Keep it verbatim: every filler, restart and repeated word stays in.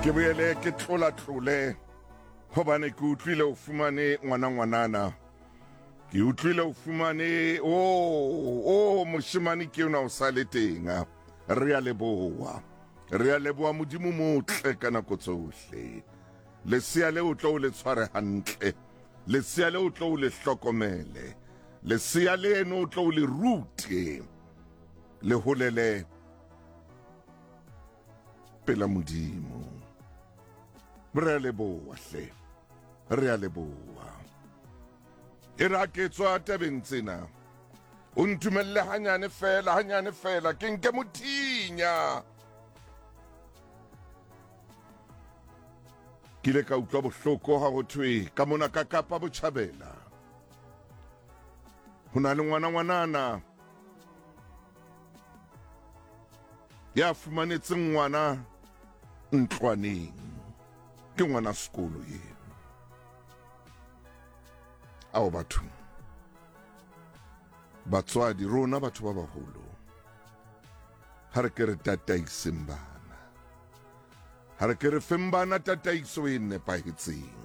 Ke boele ke tlola-tlole hobane ke utlwile o fumane ngwana ngwanana. Ke utlwile o fumane o o moshemane ke yona o sa le teng. Re a leboha. Re a leboha Modimo motle ka nako tsohle. Lesea le o tlo o le tshware hantle. Lesea le o tlo o le hlokomele. Lesea leno o tlo o le rute. Le holele pela Modimo. Re a leboha hle. Re a leboha. E re ha ke tswa tabeng tsena, o ntumelle hanyane fela, hanyane fela, ke nke mothinya. Ke ile ka utlwa bohloko ha ho thwe ka mona ka Kapa Botjhabela ho na le ngwana ngwanana ya fumanetseng ngwana ntlwaneng. Ke ngwana sekolo eo. Ao batho, batswadi rona batho ba baholo, ha re ke re tataiseng bana, ha re ke re feng bana tataiso e nepahetseng.